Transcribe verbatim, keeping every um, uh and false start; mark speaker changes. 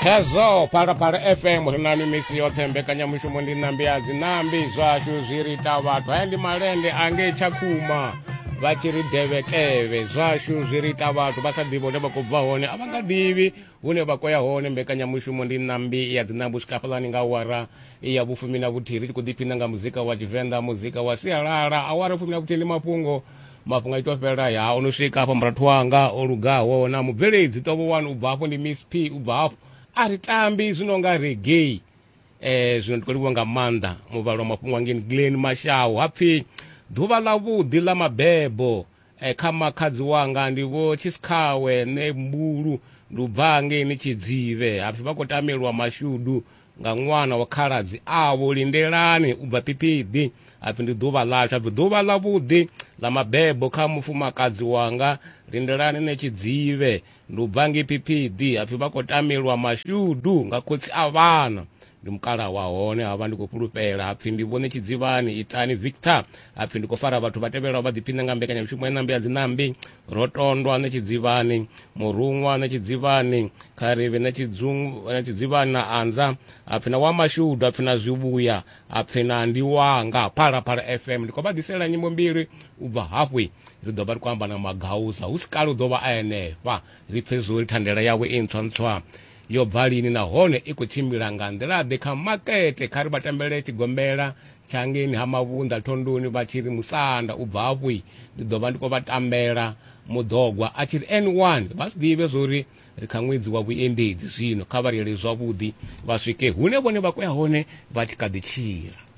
Speaker 1: Khezwo Phalaphala F M ri na misi yoṱhe, mbekanyamushumo ndi ṋambi ya dzinambi, zwashu zwi ri ita vhathu. Haya ndi malende angei Tshakhuma vha tshi ri devhetevhe, zwashu zwi ri ita vhathu vha sa ḓivhi hune vha khou bva hone, a vha nga ḓivhi hune vha khou ya hone. Mbekanyamushumo ndi ṋambi ya dzinambi u swika hafhaḽani nga awara ya vhufumi na vhuthihi, ri tshi khou ḓiphina nga muzika wa Tshivenḓa, muzika wa sialala. Awara fumi na vhuthihi ndi mafhungo, mafhungo a ito fhela ya ono swika hafha murathu wanga o lugaho na mubveledzi ṱovho wani u bva hafho ndi Miss P u bva hafho a ri tambi zwino nga reggae. Eh zwino ndi khou livhuwa nga maanḓa muvhalo wa mafhungo angeni Glen Mashau. Hapfi ḓuvha ḽa vhuḓi ḽa mabebo eh, kha makhadzi wanga ndi vho Tshisikhawe ne Mbulu, ndi u bva ngeini Tshidzivhe. Hapfi vha khou tamelwa mashudu nga ṅwana wa khaladzi avho Lindelani u bva Phiphiḓi. Hapfi ndi ḓuvha ḽashu, hapfi ḓuvha ḽa vhuḓi ḽa mabebo kha mufumakadzi wanga Lindelani ne Tshidzivhe, ndi u bva ngei Phiphiḓi. Hapfi vha khou tamelwa mashudu nga khotsi a vhana, ndi mukala wa hone havha ndi khou fhulufhela. Hapfi ndi vhone Tshidzivhani Itani Victor. Hapfi ndi khou fara vhathu vha tevhelaho vha ḓiphina nga mbekanyamushumo ya ṋambi ya dzinambi: Rotondwa ne Tshidzivhani, Muruṅwa ne Tshidzivhani, Kharivhe ne Tshidzivhani na Anza. Hapfi na wa mashudu, hapfi na zwivhuya, hapfi na ndi wanga. Phalaphala F M ndi khou vha ḓisela nyimbo mbili u bva hafhu, ri ḓo vha ri khou amba na Magauza hu si kale u ḓo vha a henefha, ri pfe zwo ri thandela yawe i ntswa ntswa yo bva lini nahone i khou tshimbila nga nḓila ḓe kha makete. Kha ri vha tambele tshigombela tsha ngeni ha Mavhunḓa Thondoni vha tshi ri musanda u bva hafhu, ndi ḓo vha ndi khou vha tambela mudogwa a tshi ri N one. Vha zwi ḓivhe zwori ri kha ṅwedzi wa vhuendedzi zwino, kha vha reile zwavhuḓi vha swike hune vhone vha khou ya hone vha tshi kha ḓi tshila.